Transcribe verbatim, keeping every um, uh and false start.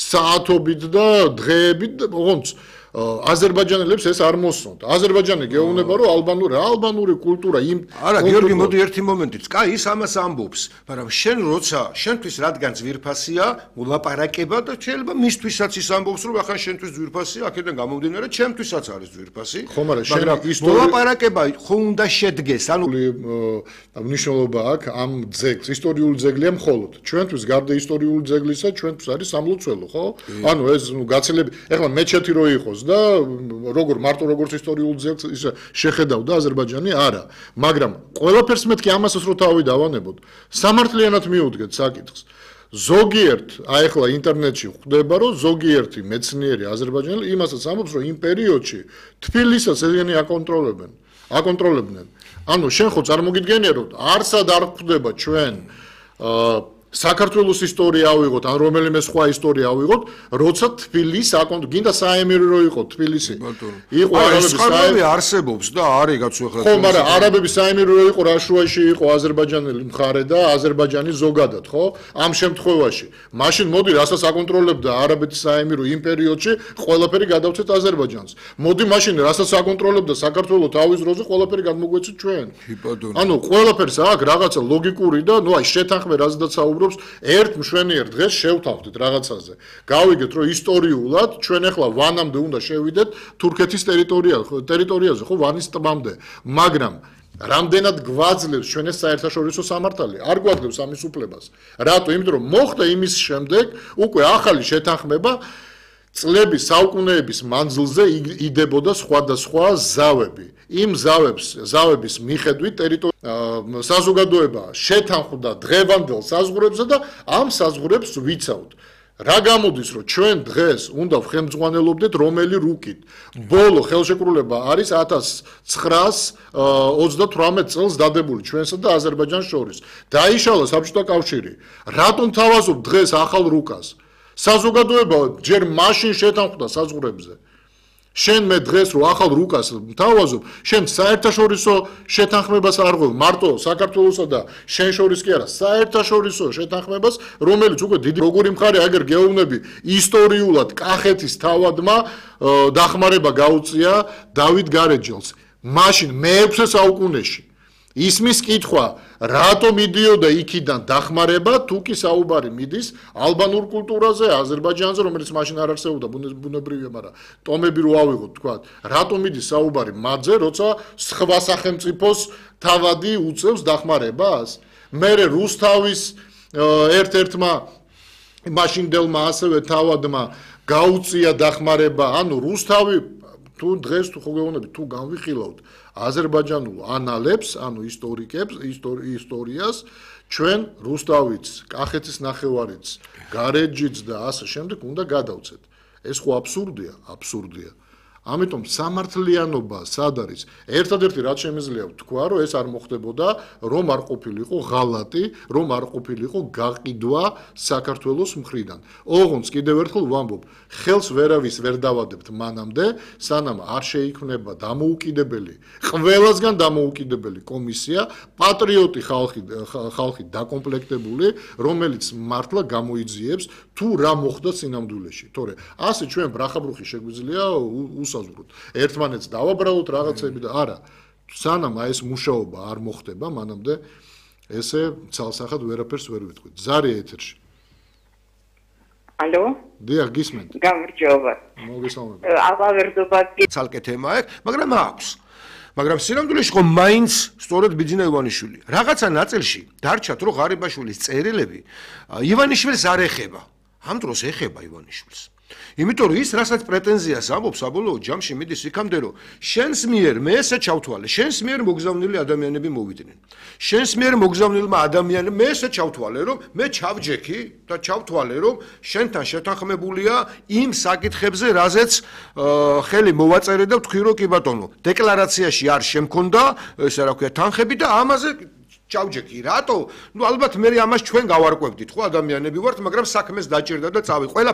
საათობით და დღეებით ოღონდ აზერბაიჯანელებს ეს არ მოსწონთ. აზერბაიჯანი გეუბნება რომ ალბანური ალბანური კულტურა იმ არა გიორგი მოდი ერთი მომენტიც. კაი ის ამას ამბობს, მაგრამ შენ როცა შენთვის რადგან ძვირფასია მოლაპარაკება და შეიძლება მისთვისაც ის ამბობს რომ ახლა შენთვის ძვირფასია, აქედან გამომდინარე ჩემთვისაც არის ძვირფასი. ხო, მაგრამ შენ ისტორია მოლაპარაკება ხო უნდა შედგეს, ანუ მნიშვნელობა აქვს ამ ძეგლს, ისტორიული ძეგლია მხოლოდ. ჩვენთვის გარდა ისტორიული ძეგლისა, ჩვენთვის არის სამლოცველო, ხო? ანუ ეს ნუ გაცილები, ეხლა მეჩეთი რო იყოს და როგორ მარტო როგორც ისტორიულ ძეგლს ის შეხედავდა აზერბაიჯანი არა მაგრამ ყველაფერს მეთქი ამასაც რო თავი დავანებოდ სამართლიანად მიუდგეთ საკითხს ზოგიერთ აი ახლა ინტერნეტში ხვდება რომ ზოგიერთი მეცნიერი აზერბაიჯანელი იმასაც ამბობს რომ იმ პერიოდში თბილისს ესენი აკონტროლებენ აკონტროლებდნენ ანუ შენ ხო წარმოგიდგენია რომ არსად არ ხვდება ჩვენ საქართველოს ისტორია ავიღოთ, ან რომელიმე სხვა ისტორია ავიღოთ, როცა თბილისი აკონტრ, გინდა საემირო რო იყო თბილისი. იყო არაბების საემირო არსებობს და არის გაცვლა. ხო, მაგრამ არაბების საემირო რო იყო რაშუაში იყო აზერბაიჯანელი მხარე და აზერბაიჯანი ზოგადად, ხო? ამ შემთხვევაში. მაშინ მოდი, რასაც აკონტროლებდა არაბეთის საემირო იმ პერიოდში, ყველაფერი გადავცეთ აზერბაიჯანს. მოდი მაშინ, რასაც აკონტროლებდა საქართველოს თავის დროზე, ყველაფერი გადმოგვეცით ჩვენ. ანუ ყველაფერს აქვს რაღაცა ლოგიკური და ნუ აი შეთანხმე რაზედაც ერთ მშვენიერ დღეს შევთავდით რაღაცაზე. გავიგეთ რომ ისტორიულად ჩვენ ახლა ვანამდე უნდა შევიდეთ თურქეთის ტერიტორიაზე, ტერიტორიაზე, ხო, ვანის ტბამდე. მაგრამ რამდენად გვაძლევს ჩვენ ეს საერთაშორისო სამართალი? არ გვაძლევს ამის უფლებას. რატო? იმიტომ რომ მოხდა იმის შემდეგ უკვე ახალი შეთანხმება წლების საუკუნეების მანძილზე იდებოდა სხვადასხვა ზავები. იმ ზავებს, ზავების მიხედვით ტერიტორია საზოგადოება შეთანხმდა დღევანდელ საზღვრებზე და ამ საზღვრებს ვიცავთ. რა გამოდის, რომ ჩვენ დღეს უნდა ვხემძღვანელობდეთ რომელი რუკით. ბოლო ხელშეკრულება არის ათას ცხრაას ოცდათვრამეტ წელს დადებული ჩვენსა და აზერბაიჯანს შორის. დაიშალა საბჭოთა კავშირი. რატომ თავაზობ დღეს ახალ რუკას? საზოგადოება ჯერ მაშინ შეთანხმდა საზღვრებზე. შენ მე დღეს რო ახალ რუკას თავაზობ, შენ საერთაშორისო შეთანხმებას არ ღვევ, მარტო საქართველოსა და შენ შორის კი არა, საერთაშორისო შეთანხმებას, რომელიც უკვე დიდი როგორი მხარე აგერ გეუბნები ისტორიულად კახეთის თავადმა დახმარება გაუწია დავით გარეჯელს. მაშინ მეექვსე საუკუნეში ისმის კითხვა, რატომ მიდიოდა იქიდან დახმარება, თუ კი საუბარი მიდის ალბანურ კულტურაზე, აზერბაიჯანზე, რომელიც მაშინ არ არსებობდა ბუნებრივია, მაგრამ ტომები რო ავიღოთ, თქვა, რატომ მიდის საუბარი მათზე, როცა სხვა სახელმწიფოს თავადი უწევს დახმარებას? მერე რუსთავის ერთ-ერთმა მაშინდელმა ასევე თავადმა გაუწია დახმარება, ანუ რუსთავი თუ დღეს თუ ხო გეუბნები, თუ განვიხილავთ აზერბაიჯანულ ანალებს, ანუ ისტორიკებს, ისტორიას, ჩვენ რუსთავიც, კახეთის ნახევარიც, გარეჯიც და ასე შემდეგ უნდა გადავცეთ. ეს ხო აბსურდია, აბსურდია. ამიტომ სამართლიანობა სად არის? ერთადერთი რაც შემიძლია ვთქვა, რომ ეს არ მოხდებოდა, რომ არ ყოფილიყო ღალატი, რომ არ ყოფილიყო გაყიდვა საქართველოს მხრიდან. ოღონდ კიდევ ერთხელ ვამბობ, ხელს ვერავის ვერ დავადებთ მანამდე, სანამ არ შეიქმნება დამოუკიდებელი, ყველასგან დამოუკიდებელი კომისია, პატრიოტი ხალხი, ხალხი დაკომპლექტებული, რომელიც მართლა გამოიძიებს თუ რა მოხდა სინამდვილეში. თორე ასე ჩვენ ბრახაბრუხი შეგვიძლია უსაზღვროთ. ერთმანეთს დავაბრალოთ რაღაცები და არა. სანამ აი ეს მუშაობა არ მოხდება, მანამდე ესე ცალსახად ვერაფერს ვერ ვიტყვით. ზარი ეთერში. ალო? დიახ, გისმენთ. გამარჯობა. მოგესალმებით. აღავერდობა ცალკე თემა აქვს, მაგრამ აქვს. მაგრამ სინამდვილეში ხო მაინც სწორედ ბიძინა ივანიშვილი. რაღაცა ნაწილში დარჩათ რომ ღარიბაშვილის წერილები ივანიშვილს არ ეხება. ამ დროს ეხება ივანიშვილს. იმიტომ რომ ის რასაც პრეტენზიას ამბობს საბოლოო ჯამში მიდის იქამდე რომ შენს მიერ მე ესე ჩავთვალე, შენს მიერ მოგზავნილი ადამიანები მოვიდნენ. შენს მიერ მოგზავნილმა ადამიანებმა მე ესე ჩავთვალე რომ მე ჩავჯექი და ჩავთვალე რომ შენთან შეთანხმებულია იმ საკითხებზე, რაზეც ხელი მოვაწერე და ვთქვი რომ კი ბატონო, დეკლარაციაში არ შემქონდა, ესე რა ქვია, თანხები და ამაზე ჩავჯექი, რატო? ნუ ალბათ მე ამას ჩვენ გავარკვევდით, ხო ადამიანები ვართ, მაგრამ საქმეს დაჭირდა და წავი. ყველა